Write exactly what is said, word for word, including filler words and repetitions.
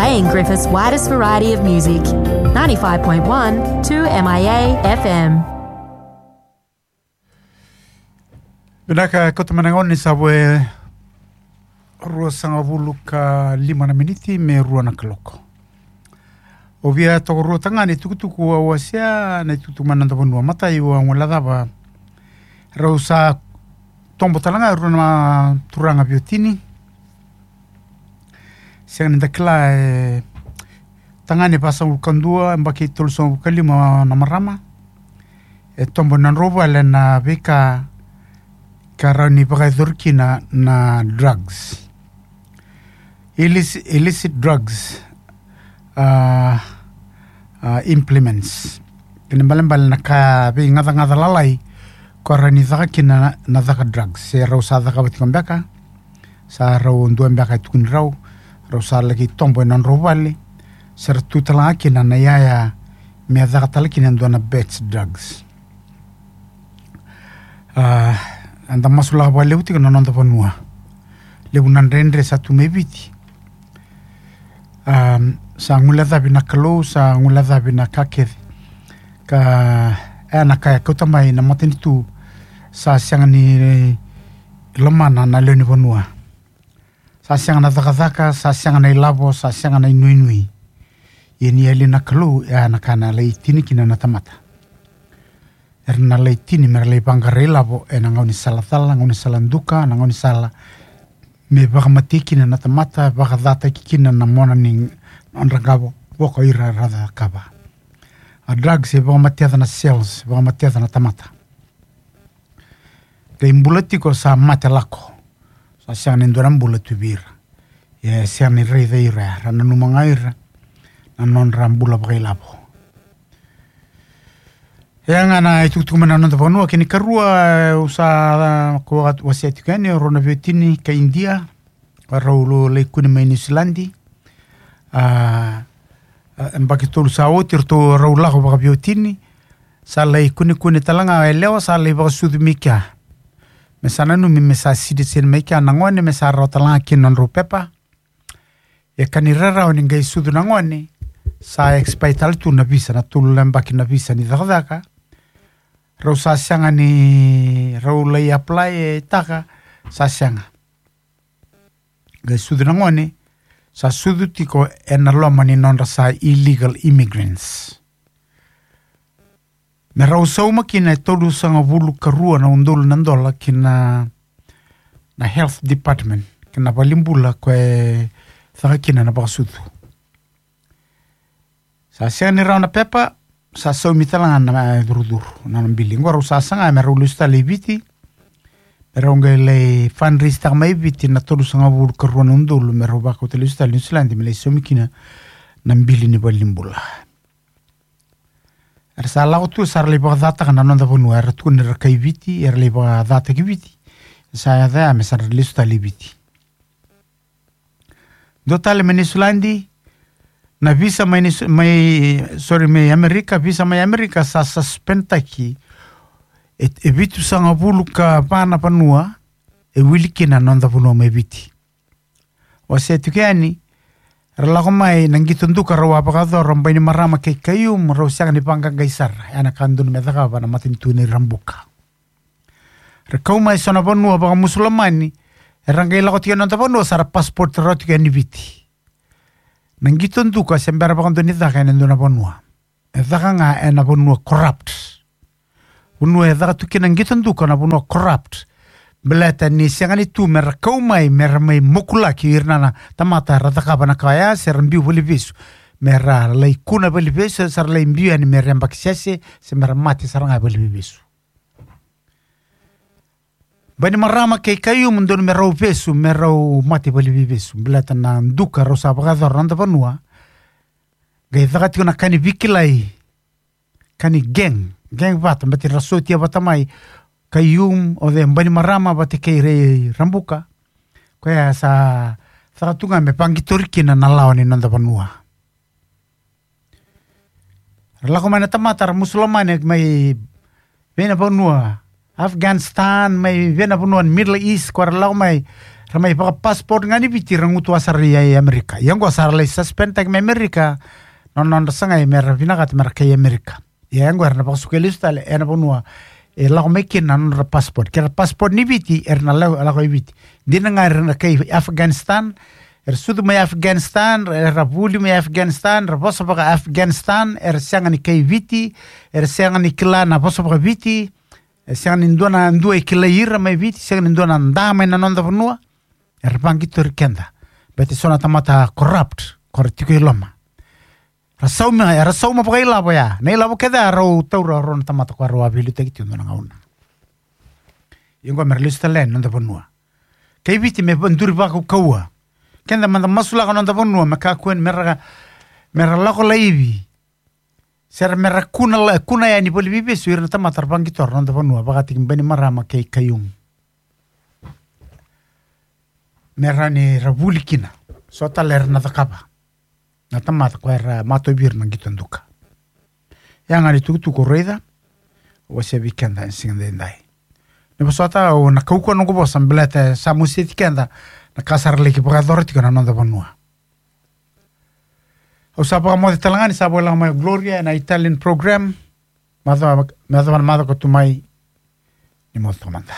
Playing Griffith's widest variety of music. Ninety-five point one two M I A F M. Vinaka, kauta mai na gauna ni sa vo e rua sagavulu ka lima na miniti me rua na kaloko. Au via tokaruataka ga na itukutuku au wasea, na itukutuku mai na noda vanua. Matai, au a guilecava rau sa tobo tale ga e rua na turaga veiwatini. Sega ni da kila, e tagane vasagavulu ka dua, yabaki tolusagavulu ka lima na marama. E tobo ena nodrau vale na veika ka rawa ni vakayacori kina na drugs. Illicit, illicit drugs, ah, ah, implements. Kena ibalebale na ka veigacagaca lalai ko rawa ni caka kina na, na caka drugs. Se rau sa cakava tiko beka, sa rau dua beka e tukuni rau, rau sa laki tobo ena nodrau vale, se ra tu tale ga kina na iyaya me caka tale kina e dua na batch drugs. Ah, eda masulaka vakalevu tiko na noda vanua. Levu na dredre sa tu mai Viti. Ah, sa guilecavi na Kalou, sa guilecavi na ka kece. Ka e na ka e kauta mai na matanitu, sa sega ni lomana na lewe ni vanua. Sa sega na cakacaka, sa sega na ilavo, sa sega na inuinui. Ia ni yali na Kalou, e a na ka na lai tini kina na tamata. Era na lai tini me ra lai vaqara ilavo ena gaunisala cala, gaunisala duka, na gaunisala me vakamatei kina na tamata, vakacataki kina na mona ni nodra qavo, voko ira ra cakava. A drugs e vakamatea na cells, vakamatea na tamata. Qai bula tiko sa mate lako. Sa sega ni dua na bula tu vei ira. E sega ni raica ira, ra nanuma ga ira na nodra bula vakailavo. E a ga na itukutuku mai na noda vanua. Kena ikarua, au sa, ko wasea tiko yani, rau na veiwatini ka Idia, rau lai kune mai Niusiladi. A, a, yabaki tolu sa oti, ratou rau lako vakaveiwatini. Sa lai kunekune tale ga e lewa, sa lai vakasucu mai kea. Me sa nanumi me sa citizen mai kea na gone, me sa rawa tale ga kina nodrau pepa. E ka ni rarawa ni qai sucu na gone, sa expire tale tu na visa, na tolu na yabaki na visa ni cakacaka. Rau sa sega ni rau lai apply e taka, sa sega. Qai sucu na gone, sa sucu tiko ena loma ni nodra sa illegal immigrants. Me rau sauma kina e tolusagavulu ka rua na udolu na dola kina na health department, kina valenibula ko e caka kina na vakasucu. Sa sega ni rawa na pepa, sa saumi tale ga na curucuru, na nona bili. Qo rau sa saga me rau lesu tale i Viti, me rau qai lai fundraise taka mai Viti na tolusagavulu ka rua na udolu, me rau vakauta lesu tale i Niusiladi, me lai saumi kina na bili ni valenibula. Era sa lako tu, sa ra lai vakacataka na noda vanua, era tukuni ra kai Viti, era lai vakacataki Viti. Sa yaco ya me sa ra lesu tale i Viti. Dua tale mai Niusiladi, na visa mai Niu-, mai, sorry, mai Amerika, visa mai Amerika sa suspendtaki e, e vitusagavulu ka va na vanua e wili kina na noda vanua mai Viti. Wasea tiko yani, ra lako mai na qito duka rau a vakayacora Bainimarama kei Khaiyum, rau sega ni vaqaqai sara, ya na ka dodonu me cakava na matanitu nei Rabuka. Ra kau mai so na vanua vakamusulamani, era qai lako tiko e noda vanua, sa ra passport rawa tiko yani Viti. Na qito duka se bera vakadua ni caka ena dua na vanua. E caka ga ena vanua corrupt. Vanua e caka tu kina qito duka na vanua corrupt. Baleta ni sega ni tu me ra kau mai, me ra mai mokulaki ira na, na tamata ra cakava na ka oya, se ra biu valevesu. Me ra lai kuna valevesu, se ra lai biu yani me ra yabaki sese, se me ra mate sara ga valevesu. Bainimarama kei Khaiyum dodonu me rau vesu, me rau mate valevesu. Baleta na duka rau sa vakayacora na noda vanua. Qai caka tiko na ka ni veikilai. Ka ni gang, gang vata, baleta ra sotia vata mai Khaiyum, o cei, Bainimarama vata kei Rai Rabuka. Koya sa caka tu ga me vaqitori kina na lawa ni noda vanua. Ra lako mai na tamata ra musulamani mai vei na vanua Afghanistan, mai vei na vanua ni Middle East, ko ra lako mai Ra mai vaka-passport ga ni Viti, ra gutuwa sara i, i Amerika. Ia oqo sa ra lai suspend taki mai Amerika na nodra sagai me ra vinakata me ra kai Amerika. Ia oqo era na vakasuka lesu tale ena vanua e lako mai kina na nodra passport. Ke ra passport ni Viti, era na lako, lako i Viti. Dina ga era na kai Afghanistan, era sucu mai Afghanistan, era vuli mai Afghanistan, era vosa vaka-Afghanistan, era sega ni kai Viti, era sega ni kila na vosa vaka-Viti, e sega ni dua na dua e kilai ira mai Viti, sega ni dua na da mai na noda vanua. Era vaqitori keda. Baleta so na tamata corrupt, ko ra tiko i loma. Ra sauma, era sauma vakailavo ya. Na ilavo kece ya rau taura o rau na tamata ko rau a veiliutaki tiko dua na gauna. Ia oqo me ra lesu tale yani na noda vanua. Kai Viti me va-, duri vakaukauwa. Keda mada masulaka na noda vanua me kakua ni me ra, me ra lako laivi. Se ra me ra kuna la, kuna yani voli veivesu ira na tamata ra vaqitora na noda vanua, vakataki Bainimarama kei Khaiyum. Me ra ni ra vuli kina. So tale era na cakava na tamata ko era matovi ira na qito duka. Ya ga ni tukutuku o raica, o wasea vei keda ena siga daidai. Ni vosota, au na kaukauwa noqu vosa baleta sa moseti keda na ka sa ra laki vakayacora tiko na noda vanua. Au sa vakamoce tale ga ni sa vakalako mai o Gloria ena Italian program. Macawa, macawa na macawa ka tu mai. Ni moce toka mada.